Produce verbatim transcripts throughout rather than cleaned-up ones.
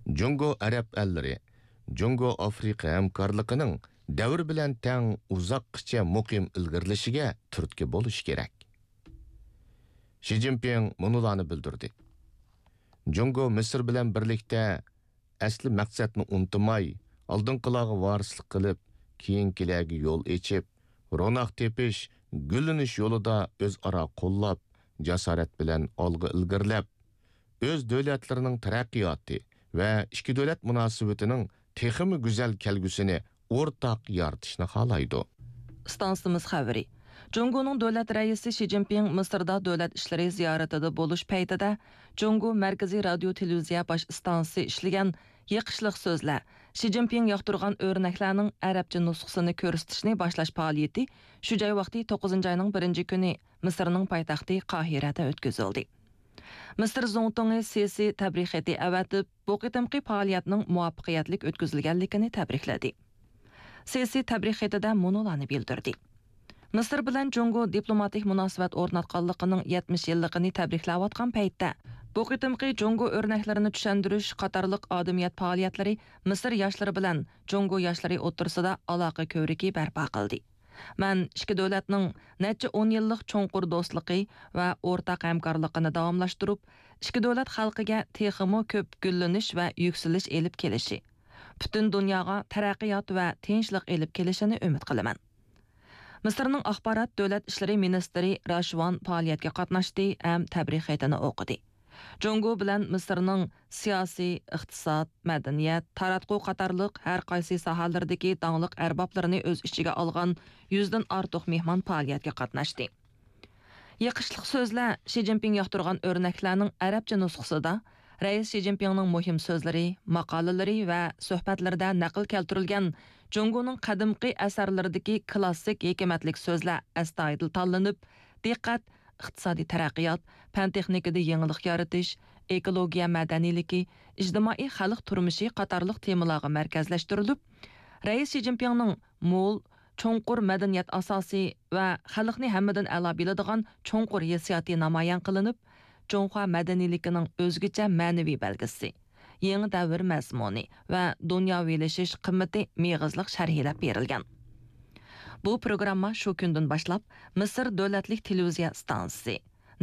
جۇڭگو ئەرەب ئەللىرى، جۇڭگو ئافرىقا ھەمكارلىقىنىڭ دەۋر بىلەن تەڭ ئۇزاققىچە مۇقىم ئىلگىرىلىشىگە تۈرتكە بولۇشى كېرەك. شى جىنپىڭ مۇنۇلارنى بىلدۈردى: جۇڭگو مىسىر بىلەن بىرلىكتە ئەسلى مەقسەتنى ئۇنتۇماي، ئالدىنقىلارغا ۋارىسلىق قىلىپ، كېيىنكىلەرگە يول ئېچىپ، روناق تېپىش، گۈللىنىش يولىدا ئۆزئارا قوللاپ، جاسارەت بىلەن ئالغا ئىلگىرىلەپ، ئۆز دۆلەتلىرىنىڭ تەرەققىياتى ۋە ئىككى دۆلەت مۇناسىۋىتىنىڭ تېخىمۇ گۈزەل كەلگۈسىنى ئورتاق يارىتىشنى خالايدۇ. ئىستانسىمىز خەۋىرى. جۇڭگونىڭ دۆلەت رەئىسى شى جىنپىڭ مىسىردا دۆلەت ئىشلىرى زىيارىتىدە بولۇش پەيتىدە، جۇڭگو مەركىزىي رادىيو تېلېۋىزىيە باش ئىستانسىسى ئىشلىگەن يېقىشلىق سۆزلەر، شى جىنپىڭ ياقتۇرغان ئۆرنەكلەرنىڭ ئەرەبچە نۇسخىسىنى كۆرسىتىشنى باشلاش پائالىيىتى شۇ جاي ۋاقتى توققۇزىنچى ئاينىڭ بىرىنچى كۈنى مىسىرنىڭ پايتەختى قاھىرەدە ئۆتكۈزۈلدى. مىسىر زۇڭتۇڭى سىسى تەبرىك خېتى ئەۋەتىپ، بۇ قېتىمقى پائالىيەتنىڭ مۇۋەپپەقىيەتلىك ئۆتكۈزۈلگەنلىكىنى تەبرىكلىدى. سىسى تەبرىك خېتىدە مۇنۇلارنى بىلدۈردى: مىسىر بىلەن جۇڭگو دىپلوماتىك مۇناسىۋەت ئورناتقانلىقىنىڭ يەتمىش يىللىقىنى تەبرىكلەۋاتقان پەيتتە، بۇ قېتىمقى جۇڭگو ئۆرنەكلىرىنى چۈشەندۈرۈش قاتارلىق ئادىمىيەت پائالىيەتلىرى مىسىر ياشلىرى بىلەن جۇڭگو ياشلىرى ئوتتۇرىسىدا ئالاقە كۆۋرۈكى بەرپا قىلدى. مەن ئىككى دۆلەتنىڭ نەچچە ئون يىللىق چوڭقۇر دوستلۇقى ۋە ئورتاق ھەمكارلىقىنى داۋاملاشتۇرۇپ، ئىككى دۆلەت خەلقىگە تېخىمۇ كۆپ گۈللىنىش ۋە يۈكسىلىش ئېلىپ كېلىشى، پۈتۈن دۇنياغا تەرەققىيات ۋە تىنچلىق ئېلىپ كېلىشىنى ئۈمىد قىلىمەن. مىسىرنىڭ ئاخبارات دۆلەت ئىشلىرى مىنىستىرى راشۋان پائالىيەتكە قاتناشتى ھەم تەبرىك خېتىنى ئوقۇدى. جۇڭگو بىلەن مىسىرنىڭ سىياسىي، ئىقتىساد، مەدەنىيەت، تاراتقۇ قاتارلىق ھەر قايسى ساھەلىرىدىكى داڭلىق ئەربابلىرىنى ئۆز ئىچىگە ئالغان يۈزدىن ئارتۇق مېھمان پائالىيەتكە قاتناشتى. يېقىشلىق سۆزلەر، شى جىنپىڭ ياقتۇرغان ئۆرنەكلەرنىڭ ئەرەبچە نۇسخىسىدا رەئىس شى جىنپىڭنىڭ مۇھىم سۆزلىرى، ماقالىلىرى ۋە سۆھبەتلىرىدە نەقىل كەلتۈرۈلگەن جۇڭگونىڭ قەدىمكى ئەسەرلىرىدىكى كلاسسىك ھېكمەتلىك سۆزلەر ئەستايىدىل تاللىنىپ، دىققەت ئىقتىسادىي تەرەققىيات، پەن-تېخنىكىدا يېڭىلىق يارىتىش، ئېكولوگىيە مەدەنىيلىكى، ئىجتىمائىي خەلق تۇرمۇشى قاتارلىق تېمىلارغا مەركەزلەشتۈرۈلۈپ، رەئىس شى جىنپىڭنىڭ مول، چوڭقۇر مەدەنىيەت ئاساسى ۋە خەلقنى ھەممىدىن ئەلا بىلىدىغان چوڭقۇر ھېسسىياتى نامايان قىلىنىپ، جۇڭخۇا مەدەنىيلىكىنىڭ ئۆزگىچە مەنىۋى بەلگىسى، يېڭى دەۋر مەزمۇنى ۋە دۇنياۋىلىشىش قىممىتى مېغىزلىق شەرھلەپ بېرىلگەن. بۇ پروگرامما شۇ كۈندىن باشلاپ مىسىر دۆلەتلىك تېلېۋىزىيە ئىستانسىسى،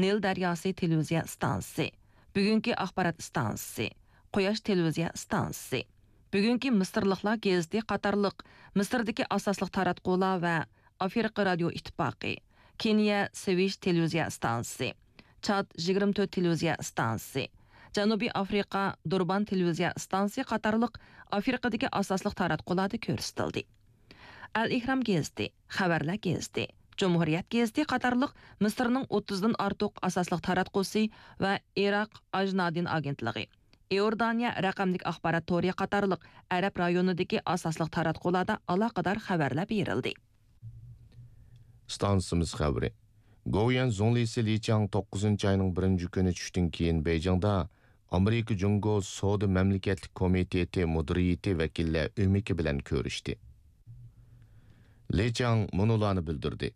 نىل دەرياسى تېلېۋىزىيە ئىستانسىسى، بۈگۈنكى ئاخبارات ئىستانسىسى، قۇياش تېلېۋىزىيە ئىستانسىسى، بۈگۈنكى مىسىرلىقلار گېزىتى قاتارلىق مىسىردىكى ئاساسلىق تاراتقۇلار ۋە ئافرىقا رادىيو ئىتتىپاقى، كېنىيە سۋىچ تېلېۋىزىيە ئىستانسىسى، چاد يىگىرمە تۆت تېلېۋىزىيە ئىستانسىسى، جەنۇبىي ئافرىقا دۇربان تېلېۋىزىيە ئىستانسىسى قاتارلىق ئافرىقىدىكى ئاساسلىق تاراتقۇلاردا كۆرسىتىلدى. ئەل ئېھرام گېزىتى، خەۋەرلەر گېزىتى، جۇمھۇرىيەت گېزىتى قاتارلىق مىسىرنىڭ ئوتتۇزدىن ئارتۇق ئاساسلىق تاراتقۇسى ۋە ئىراق ئاژنادىن ئاگېنتلىقى، ئىئوردانىيە رەقەملىك ئاخبارات تورى قاتارلىق ئەرەب رايونىدىكى ئاساسلىق تاراتقۇلاردا ئالاقىدار خەۋەرلەر بېرىلدى. ئىستانسىمىز خەۋىرى. گوۋۇيۈەن زۇڭلىسى لى چاڭ توققۇزىنچى ئاينىڭ بىرىنچى كۈنى چۈشتىن كېيىن بېيجىڭدا ئامېرىكا جۇڭگو سودا مەملىكەتلىك كومىتېتى مۇدىرىيىتى ۋەكىللەر ئۆمىكى بىلەن كۆرۈشتى. لى چاڭ مۇنۇلارنى بىلدۈردى: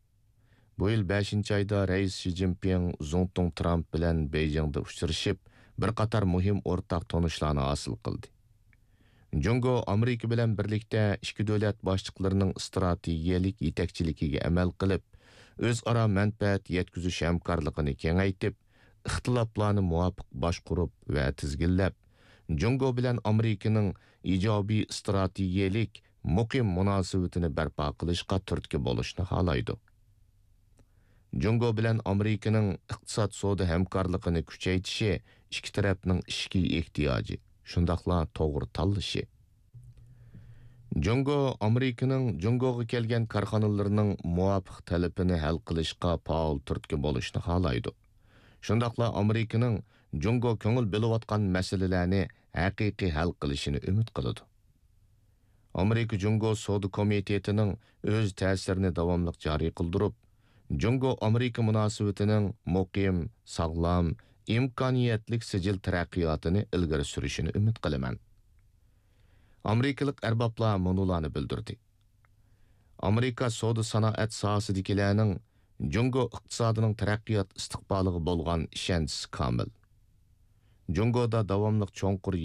بۇ يىل بەشىنچى ئايدا رەئىس شى جىنپىڭ زۇڭتۇڭ ترامپ بىلەن بېيجىڭدا ئۇچرىشىپ، بىر قاتار مۇھىم ئورتاق تونۇشلارنى ھاسىل قىلدى. جۇڭگو ئامېرىكا بىلەن بىرلىكتە ئىككى دۆلەت باشلىقلىرىنىڭ ئىستراتېگىيەلىك يېتەكچىلىكىگە ئەمەل قىلىپ، ئۆزئارا مەنپەئەت يەتكۈزۈش ھەمكارلىقىنى كېڭەيتىپ، ئىختىلاپلارنى مۇۋاپىق باشقۇرۇپ ۋە تىزگىنلەپ، جۇڭگو بىلەن ئامېرىكىنىڭ ئىجابىي ئىستراتېگىيەلىك مۇقىم مۇناسىۋىتىنى بەرپا قىلىشقا تۈرتكە بولۇشنى خالايدۇ. جۇڭگو بىلەن ئامېرىكىنىڭ ئىقتىساد سودا ھەمكارلىقىنى كۈچەيتىشى ئىككى تەرەپنىڭ ئىچكى ئېھتىياجى، شۇنداقلا توغرا تاللىشى. جۇڭگو ئامېرىكىنىڭ جۇڭگوغا كەلگەن كارخانىلىرىنىڭ مۇۋاپىق تەلىپىنى ھەل قىلىشقا پائال تۈرتكە بولۇشنى خالايدۇ. شۇنداقلا ئامېرىكىنىڭ جۇڭگو كۆڭۈل بۆلۈۋاتقان مەسىلىلەرنى ھەقىقىي ھەل قىلىشىنى ئۈمىد قىلىدۇ. ئامېرىكا جۇڭگو سودا كومىتېتىنىڭ ئۆز تەسىرىنى داۋاملىق جارى قىلدۇرۇپ، جۇڭگو ئامېرىكا مۇناسىۋىتىنىڭ مۇقىم، ساغلام، ئىمكانىيەتلىك سىجىل تەرەققىياتىنى ئىلگىرى سۈرۈشىنى ئۈمىد قىلىمەن. ئامېرىكىلىق ئەربابلار مۇنۇلارنى بىلدۈردى: ئامېرىكا سودا سانائەت ساھەسىدىكىلەرنىڭ جۇڭگو ئىقتىسادىنىڭ تەرەققىيات ئىستىقبالىغا بولغان ئىشەنچىسى كامىل. جۇڭگودا داۋاملىق چوڭقۇر